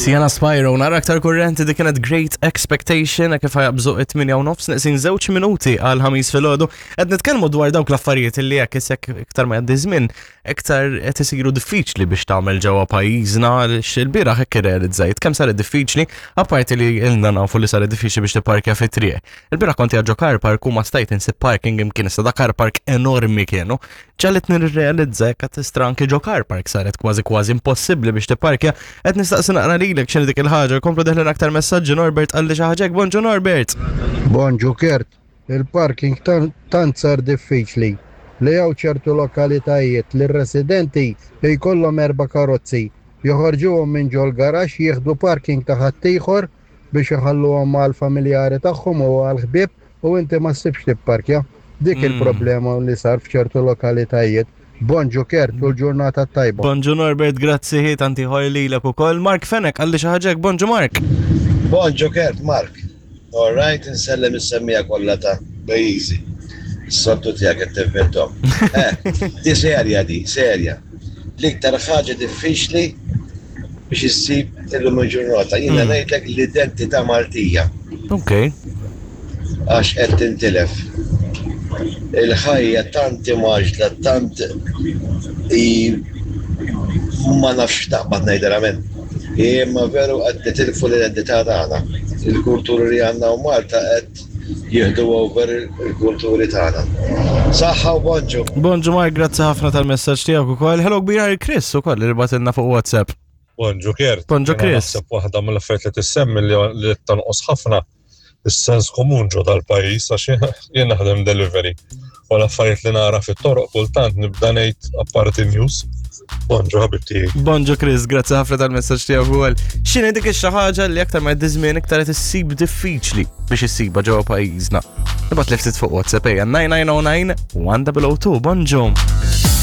Sienna Spyro, nara aktar kurrenti di kienet Great Expectation, kif ħajabżu it-8 u nofs neqsin żewġ minuti għal ħamis filgħodu. Qed nitkellmu dwar dawk l-affarijiet li jekk isek iktar ma jgħaddi żmien, iktar qed isiru diffiċli biex tagħmel ġewwa pajjiżna għaliex il-bieraħ hekk irrealizzajt kemm saret diffiċli, apparti li ilna nafu li saret diffiċli biex tipparkja fit-triq. Il-bieraħ kont ġo car park u ma stajt insib parking imkien issa da car park enormi kienu. Ġalit nirrealizza jekk qed tistra anki ġo car park saret kważi kważi impossibbli biex tipparkja. Qed nistaqsi naqra lilek x'inhi dik il-ħaġa, komplu deħlin aktar messaġġi Norbert qalli xi ħaġa hekk. Bonġu Norbert. Bonġu Kurt, il-parking tant sar diffiċli li hawn ċertu lokalitajiet li r-residenti jkollhom erba' karozzi, joħorġuhom minn ġol-garaxx jieħdu parking ta' ħaddieħor biex iħalluhom għall-familjari tagħhom u għall-ħbieb u inti ma ssibx tipparkja. Dik il-problema li sar f'ċertu lokalitajiet. Bonġu Kurt u l-ġurnata t-tajba. Bonġu Norbert, grazzi ħi tant ieħor lilek ukoll. Mark Fenech qalli xi ħaġa hekk, bonġu Mark. Bonġu Kurt, Mark. All right, insellem is-semmiegħa kollha ta' pajjiżi. Is-soltu tiegħek qed tivvinthom. Eh, di serja di, serja. L-iktar ħaġa diffiċli biex issib illum il-ġurnata. Jiena hmm. ngħidlek l-identità Maltija. Ok. Għax qed tintilef. Il-ħajja tant imgħaġla, tant i ma nafx taqbad ngħid verament. Imma veru qed nitilfu l-identità tagħna. Il-kulturi li għandna u Malta qed jieħdu over il-kulturi tagħna. Saħħa u bonġu. Bonġu Mark, grazzi ħafna tal-messaġġ tiegħek ukoll. Hello kbira Chris ukoll li batilna fuq WhatsApp. Bonġu Kert. Bonġu Chris. Naħseb waħda mill-affarijiet li tissemmi li tonqos ħafna is-sens komun ġo dal-pajjiż għax jien naħdem delivery. U l-affarijiet li nara fit-toroq kultant nibda ngħid apparti news. Bonġu ħabib tiegħi. Bonġu Chris, grazzi ħafna tal-messaġġ tiegħek ukoll. X'inhi dik xi ħaġa li aktar ma jgħaddi żmien iktar qed issib diffiċli biex issibha ġewwa pajjiżna. Ibgħat li ftit fuq WhatsApp ejja 9909 1002. Bonġu.